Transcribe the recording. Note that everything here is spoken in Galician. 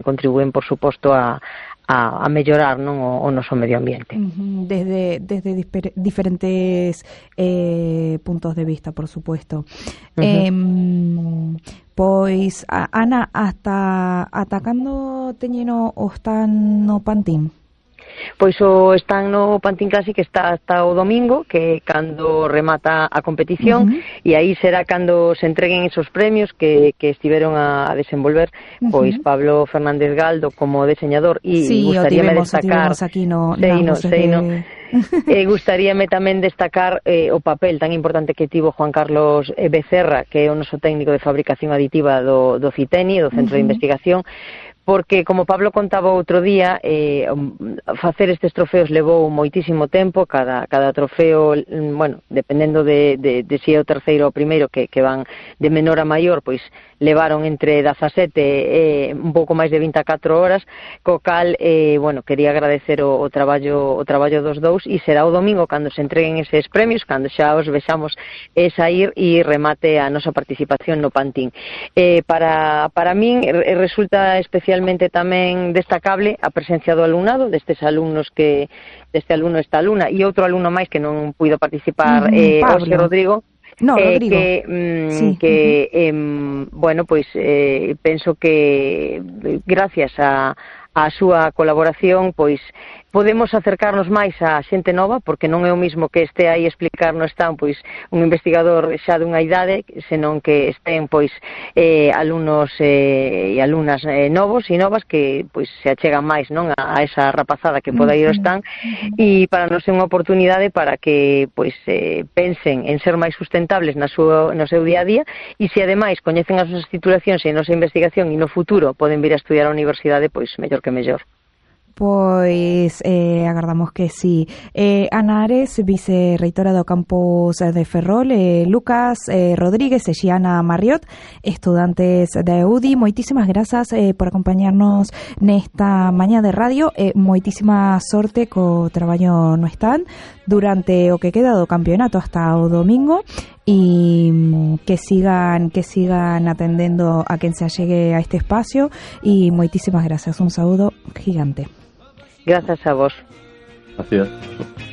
contribúen, por suposto, a mellorar, non, o noso medio ambiente. Desde diferentes puntos de vista, por supuesto. Pois, Ana, ata cando teñeno o stand no Pantín? Pois o stand no Pantín Classic está hasta o domingo, que cando remata a competición, e aí será cando se entreguen esos premios que estiveron a desenvolver pois Pablo Fernández Galdo como diseñador, e gustaríame destacar aquí no, gustaríame tamén destacar o papel tan importante que tivo Juan Carlos Becerra, que é o noso técnico de fabricación aditiva do CITENI, do Centro de Investigación, porque, como Pablo contaba outro día, facer estes trofeos levou moitísimo tempo. Cada trofeo, bueno, dependendo de se é o terceiro ou o primeiro, que van de menor a maior, pois levaron entre 17 e un pouco máis de 24 horas, co cal, bueno, quería agradecer o traballo dos dous, e será o domingo cando se entreguen eses premios, cando xa os vexamos sair e remate a nosa participación no Pantín. Para min resulta especialmente tamén destacable a presencia do alumnado, destes alumnos deste alumno, esta alumna, e outro alumno máis que non puido participar, José Rodrigo, bueno, pois penso que gracias a súa colaboración, pois podemos acercarnos máis a xente nova, porque non é o mismo que este aí explicar no stand pois un investigador xa dunha idade, senón que estén pois alumnos e alumnas novos e novas que pois se achegan máis, non, a esa rapazada que poda ir ao stand, e para nós é unha oportunidade para que pois pensen en ser máis sustentables no seu día a día, e se ademais coñecen as nosas titulacións e a nosa investigación e no futuro poden vir a estudiar a universidade, pois mellor que mellor. Pois agardamos que sí. Ana Ares, vicerreitora do campus de Ferrol, Lucas Rodríguez e Xiana Marriot, estudantes da EUDI, moitísimas grazas por acompañarnos nesta mañá de radio, moitísima sorte co traballo no stand durante o que queda do campeonato hasta o domingo, e que sigan atendendo a quen se allegue a este espacio, e moitísimas grazas, un saúdo gigante. Gracias a vos. Gracias.